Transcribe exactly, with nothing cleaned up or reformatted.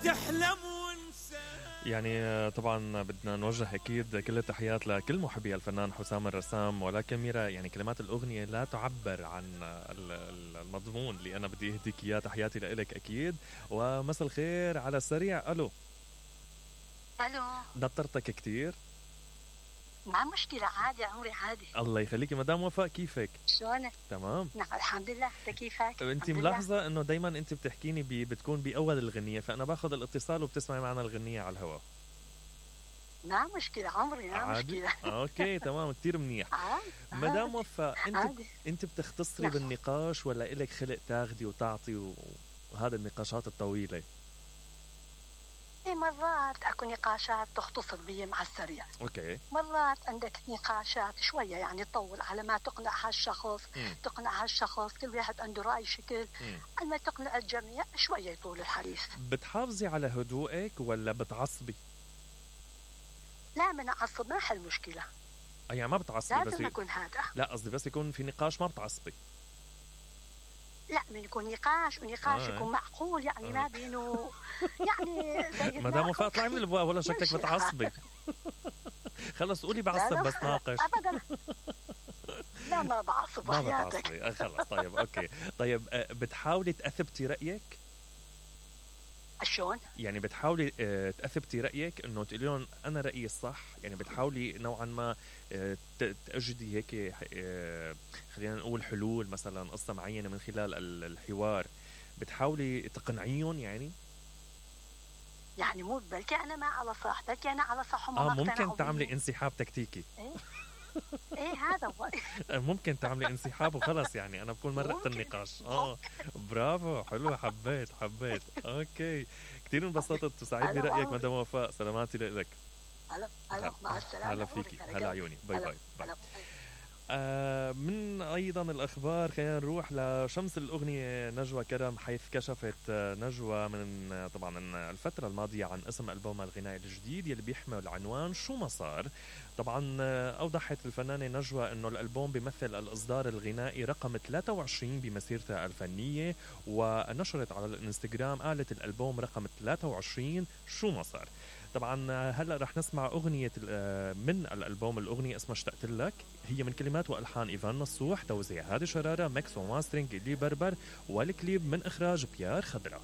تحلم وانسى. يعني طبعا بدنا نوجه اكيد كل التحيات لكل محبي الفنان حسام الرسام، ولكن ميرا يعني كلمات الاغنيه لا تعبر عن المضمون اللي انا بدي اهديك اياه. تحياتي لك اكيد ومساء الخير على السريع. الو الو نطرتك كتير؟ ما مشكلة، عادي عمري عادي. الله يخليكي مدام وفاء، كيفك؟ شلونك؟ تمام نعم الحمد لله. انت كيفك؟ انت ملاحظة انه دايما انت بتحكيني بي بتكون باول الغنية، فانا باخذ الاتصال وبتسمعي معنا الغنية على الهواء. ما مشكلة عمري، ما عادي. مشكلة. اوكي تمام كتير منيح. مدام وفاء انت عادي. انت بتختصري نعم. بالنقاش ولا إلك خلق تاخدي وتعطي وهذا النقاشات الطويلة؟ ايه مرات اكو نقاشات تختصر بي مع السريع. اوكي. مرات عندك نقاشات شويه يعني تطول على ما تقنع هالشخص، مم. تقنع هالشخص، كل واحد عنده راي شكل، اما تقنع الجميع شويه يطول الحديث. بتحافظي على هدوءك ولا بتعصبي؟ لا من اعصب ما حل مشكله. يعني ما بتعصبي؟ بس يكون هذا. لا قصدي بس يكون في نقاش ما بتعصبي. لا من يكون نقاش ونقاش آه. يكون معقول يعني آه. ما بينه يعني زي مدام وفاء اطلعي من الابواب ولا شكلك بتعصبي. خلص قولي بعصب بس ناقش. ابدا لا ما بعصب ما بعصبي. خلص طيب اوكي. طيب بتحاولي تأثبتي رأيك؟ شلون؟ يعني بتحاولي تأثبتي رأيك انه تقولي لهم انا رأيي الصح، يعني بتحاولي نوعا ما تأجدي هيك خلينا نقول حلول مثلا قصة معينة من خلال الحوار، بتحاولي تقنعيهم يعني؟ يعني مو بلكي انا ما على صح، بلكي انا على صح وما اه ممكن تعملي انسحاب تكتيكي. ايه ايه هذا هو. ممكن تعملي انسحاب وخلص يعني انا بكون مرقت النقاش. اه برافو حلو، حبيت حبيت. اوكي كثير انبسطت وسعيد برأيك مدام وفاء. سلاماتي لك. هلا هلا مع السلامة. هلا فيكي. هلا عيوني. باي باي, باي. آه من أيضا الأخبار خلينا نروح لشمس الأغنية نجوى كرم، حيث كشفت نجوى من طبعا الفترة الماضية عن اسم ألبومها الغنائي الجديد يلي بيحمل عنوان شو ما صار. طبعا أوضحت الفنانة نجوى أنه الألبوم بيمثل الإصدار الغنائي رقم ثلاثة وعشرين بمسيرتها الفنية، ونشرت على الانستغرام قالت الألبوم رقم ثلاثة وعشرين شو ما صار. طبعا هلا رح نسمع أغنية من الألبوم، الأغنية اسمها اشتقت لك، هي من كلمات وألحان إيفان نصوح، توزيع هادي شرارة، ميكس وماسترينج إلي بربر، والكليب من إخراج بيار خضرا.